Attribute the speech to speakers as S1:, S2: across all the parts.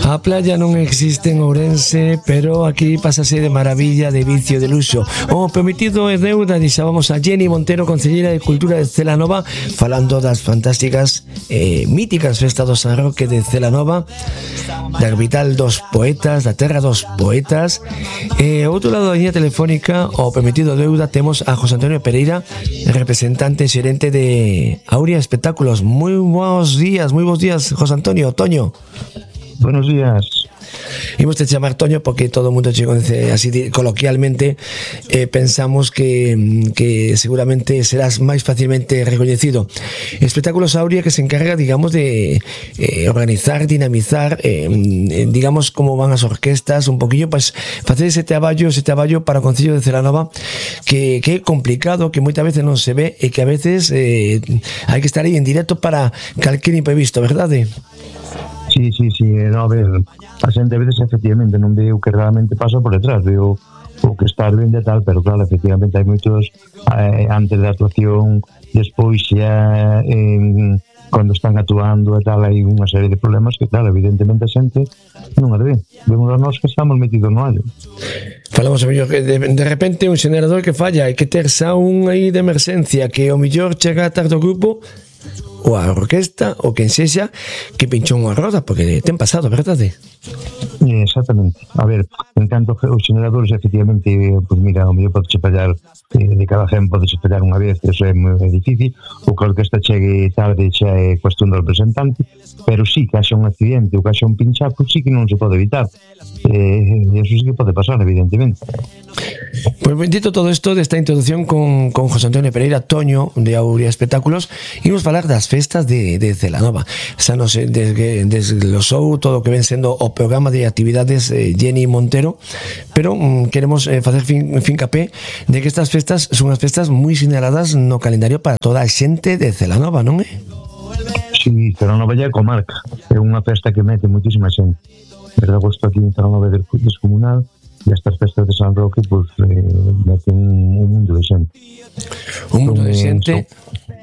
S1: A playa non existe en Ourense, pero aquí pásase de maravilla, de vicio, de luxo. O prometido é deuda, deixábamos a Jenny Montero, concelleira de Cultura de Celanova, falando das fantásticas míticas festas do San Roque de Celanova, da capital dos poetas, da terra dos poetas. Outro lado da línea telefónica, o prometido deuda, temos a José Antonio Pereira, representante e xerente de Auria Espectáculos. Moi bons días, José Antonio, Toño.
S2: Buenos días.
S1: Imos te chamar Toño porque todo o mundo che conoce así coloquialmente. Pensamos que seguramente serás máis facilmente recoñecido. Espectáculos Auria, que se encarga, digamos, de organizar, dinamizar, digamos, como van as orquestas, un poquillo, pues, facer ese traballo para o Concello de Celanova, que é complicado, que moitas veces non se ve e que a veces hai que estar aí en directo para calquer imprevisto, verdade?
S2: Sí, no, a ver, a xente a veces efectivamente non ve o que realmente pasa por detrás, veo o que está ben de tal, pero claro, efectivamente hai moitos antes da actuación, despois xa cando están actuando e tal, hai unha serie de problemas que claro, evidentemente a xente non as ve, vemos a nós que estamos metidos no allo.
S1: Falamos a mellor que de repente un xenerador que falla e que ter xa un aí de emerxencia que o mellor chega tarde ao grupo ou a orquesta, ou quen sexa, que pinchou unha roda, porque ten pasado, verdade?
S2: Exactamente. A ver, en canto os generadores, efectivamente, pues mira, o mellor podes fallar de cada gen, podes fallar unha vez, eso é moi difícil, ou que a orquesta chegue tarde xa é cuestión do representante, pero sí que haxa un accidente ou que haxa un pinchazo, sí que non se pode evitar. Eso sí que pode pasar, evidentemente.
S1: Pues dito todo isto desta introducción con José Antonio Pereira, Toño de Auria Espectáculos, imos falar das festas de Celanova. Xa nos desglosou todo o que ven sendo o programa de actividades Jenny Montero, pero queremos facer fincapé de que estas festas son as festas moi sinaladas no calendario para toda a xente de Celanova, non é?
S2: Sí, Celanova é comarca, é unha festa que mete moitísima xente. Desde agosto aquí en Celanova é descomunal, e estas festas de San Roque pues meten un mundo de xente.
S1: Un mundo de xente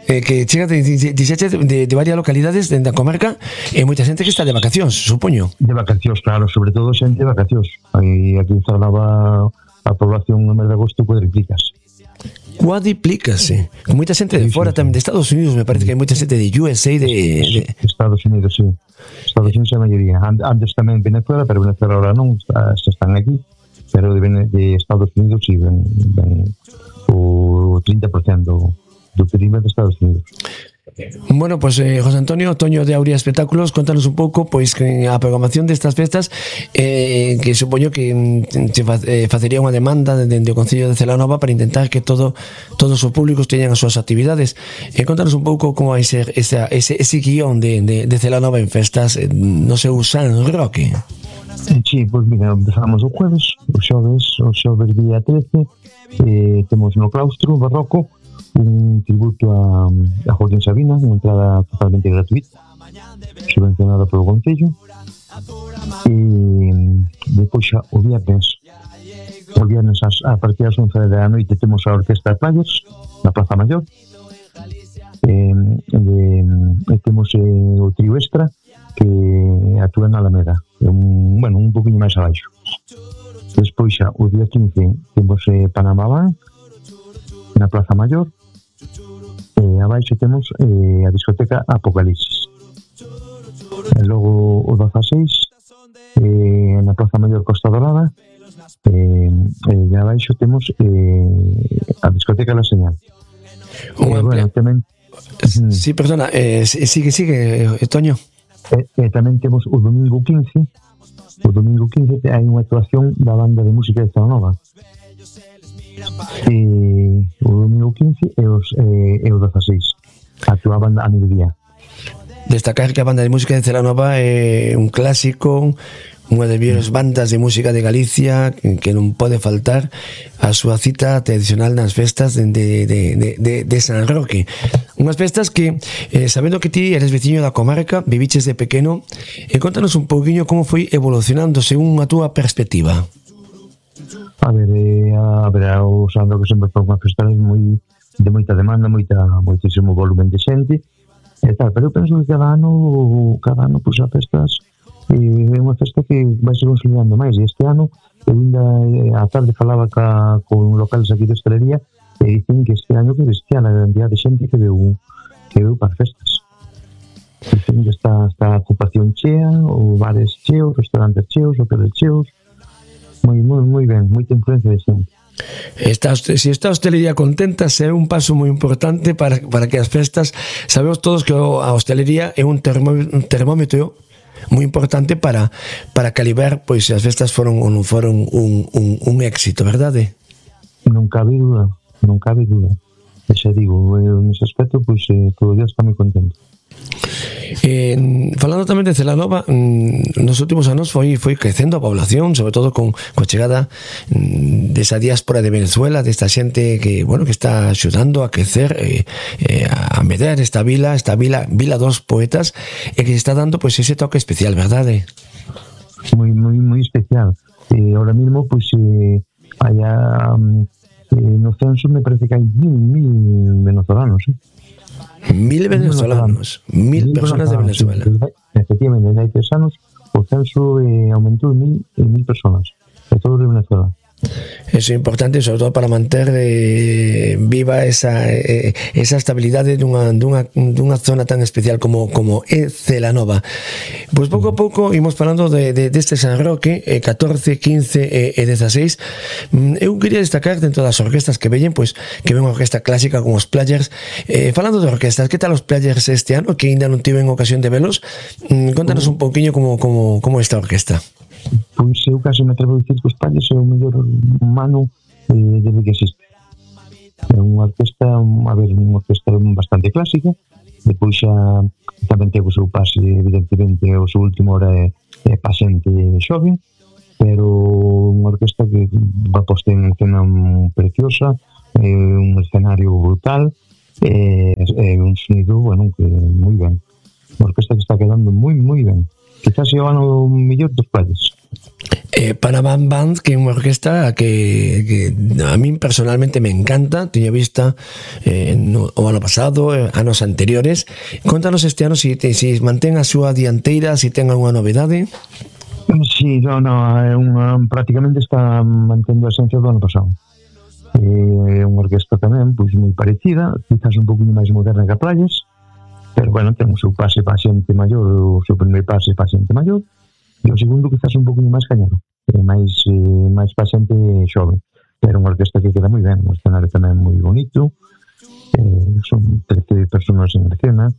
S1: que chega de varias localidades da comarca e moita xente que está de vacacións, supoño.
S2: De vacacións, claro, sobre todo xente de vacacións. Aquí en Celanova a población no mes de agosto cuadriplícase.
S1: Cuadriplícase. Con moita xente de fora tamén, de Estados Unidos, me parece que hai moita xente de USA, de
S2: Estados Unidos, sí. Estados Unidos é a maioría. Antes tamén Venezuela, pero Venezuela ahora non, se están aquí. Pero de Estados Unidos sí ven o 30% do perímetro de Estados Unidos.
S1: Bueno, pues José Antonio, Toño de Auria Espectáculos, contanos un pouco pois que a programación destas festas que supoño que facería unha demanda dende o Concello de Celanova para intentar que todos os públicos teñan as súas actividades. Contanos un pouco como vai ser ese guión de Celanova en festas no seu San Roque.
S2: Sí, pues mira, empezamos o xoves día 13, temos no claustro barroco un tributo a Joaquín Sabina, unha entrada totalmente gratuita, subvencionada polo Concello, e depois xa o viernes a partir das 11 da noite temos a Orquesta de Players na Plaza Maior, e temos o trío extra que actúa na Alameda, un poquinho máis abaixo. Despois xa o día 15 temos Panamá Van na Plaza Maior, e abaixo temos a discoteca Apocalipsis. E logo o 16 na Plaza Maior Costa Dorada, e abaixo temos a discoteca La Señal. Tamén
S1: sí, perdona, sigue, Toño.
S2: Tamén temos o domingo 15 hai unha actuación da banda de música de Celanova, o domingo 15 e o 16 actuaban a mediodía.
S1: Destacar que a banda de música de Celanova é un clásico, unha das mellores bandas de música de Galicia que non pode faltar a súa cita tradicional nas festas de San Roque. Unhas festas que, sabendo que ti eres veciño da comarca, viviches de pequeno, contanos un pouquiño como foi evolucionando según a túa perspectiva.
S2: A ver, o San Roque sempre foi unha festa de moita demanda, moitísimo volumen de xente e tal, pero eu penso que cada ano pois as festas é unha festa que vai se consolidando máis, e este ano eu ainda a tarde falaba con locales aquí de hostelería e dicen que este ano que bestial a cantidad de xente que veu para festas. Dicen que está a ocupación chea, o bares cheos, restaurantes cheos, hoteles cheos, moi ben, moita influencia de xente.
S1: Si está a hostelería contenta, é un paso moi importante para que as festas, sabemos todos que a hostelería é un termómetro moi importante para calibrar pois se as festas foron ou non foron un éxito, verdade?
S2: Non cabe dúda. E xa digo, nese aspecto, pois todo o día está moi contento.
S1: Falando tamén de Celanova, nos últimos anos foi crecendo a población, sobre todo con a chegada desa diáspora de Venezuela, desta xente que está axudando a crecer, a medrar esta vila dos poetas, e que está dando pois ese toque especial, verdade?
S2: Moi especial. Ahora mismo pois no censo me parece que hai 1.000 venezolanos,
S1: 1.000 venezolanos, 1.000 personas de Venezuela.
S2: Efectivamente, hai 3 anos o censo aumentou en 1.000 personas, de todo de Venezuela.
S1: Eso é importante, sobre todo para manter viva esa estabilidade dunha zona tan especial como é Celanova. Pois pouco a pouco imos falando deste San Roque, 14, 15 e 16. Eu quería destacar dentro das orquestas que veñen, pois que ven unha orquesta clásica como os Players. Falando de orquestas, que tal os Players este ano, que ainda non tiven ocasión de velos? Contanos un pouquiño como esta orquesta.
S2: Pois eu casi me atrevo a dicir que os Players é o mellor mano desde que existe. É unha orquesta bastante clásica, depois xa tamén ten o seu pase, evidentemente o seu último hora é pasente xoven, pero unha orquesta que va posta en escena preciosa, un escenario brutal, un sonido, que moi ben. Unha orquesta que está quedando moi ben. Quizás é o ano mellor dos Players.
S1: Panamá Band, que é unha orquesta que a min personalmente me encanta, teño vista o ano pasado, anos anteriores. Contanos este ano se mantén a súa dianteira, se ten algunha novedade.
S2: Sí, prácticamente está mantendo a esencia do ano pasado. É unha orquesta tamén pois moi parecida, quizás un pouquinho máis moderna que a Players, pero ten o seu pase pa xente maior, o seu primeiro pase pa xente maior, e o segundo quizás un pouquinho máis cañero, máis pa xente xoven, pero unha orquesta que queda moi ben, un escenario tamén moi bonito, son 13 personas en escena,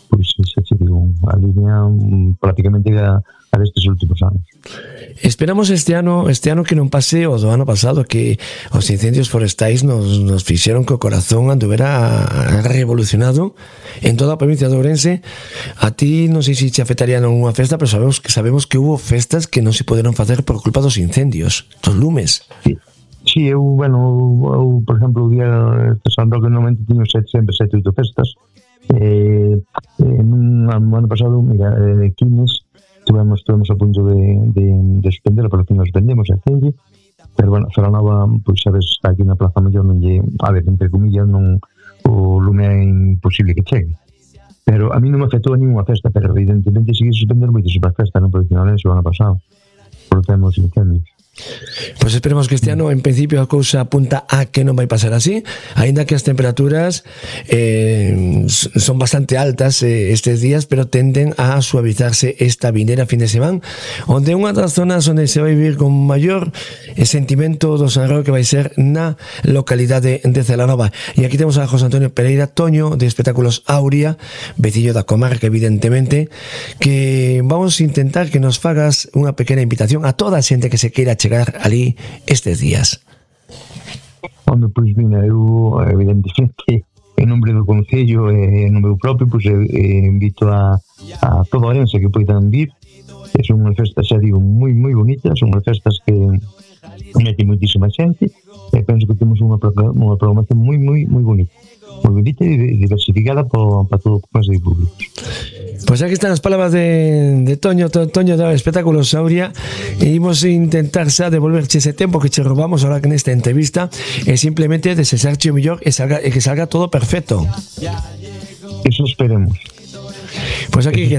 S2: pois xa che digo, a línea prácticamente a destes últimos anos.
S1: Esperamos este ano que non pase o do ano pasado, que os incendios forestais nos fixeron que o corazón anduvera revolucionado en toda a provincia de Ourense. A ti non sei se te afectaría nunha festa, pero sabemos que hubo festas que non se poderon facer por culpa dos incendios, dos lumes.
S2: Sí, eu, por exemplo, o día de San Roque normalmente tiño sempre 7 ou 8 festas. No ano pasado, mira, Quines Estuvemos a punto de suspender, pero que nos suspendemos a Cenge, pero Celanova, pois sabes, está aquí na Plaza Maior, non lle, entre comillas, non, o lume é imposible que chegue. Pero a mí non me afectou a ninguna festa, pero evidentemente sigue suspender moitas festas, non, porque non é o ano pasado, por temos incendios.
S1: Pois esperemos que este ano en principio a cousa apunta a que non vai pasar así, aínda que as temperaturas son bastante altas estes días, pero tenden a suavizarse esta vindeira fin de semana, onde unha das zonas onde se vai vivir con maior sentimento do San Roque vai ser na localidade de Celanova. E aquí temos a José Antonio Pereira Toño, de Espectáculos Auria, vecillo da comarca evidentemente, que vamos a intentar que nos fagas unha pequena invitación a toda a xente que se queira chegar ali estes días.
S2: Pois mira, eu evidentemente en nombre do Concello e en nome propio, pois invito a toda a Ourense que poidan vir. Son unhas festas, xa digo, moi bonitas, son unhas festas que mete moitísima xente, e penso que temos unha programación moi bonita, e diversificada para todo o clase de público.
S1: Pois aquí están as palabras de Toño de Espectáculos Auria, e imos intentar xa devolverche ese tempo que che robamos ahora que nesta entrevista, e simplemente desexarche o mellor e que salga todo perfecto.
S2: Eso esperemos.
S1: Pois aquí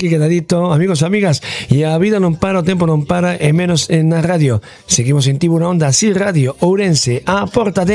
S1: quedadito, amigos, amigas, e a vida non para, o tempo non para, e menos na radio. Seguimos en Tiburón da Así Radio Ourense, a porta de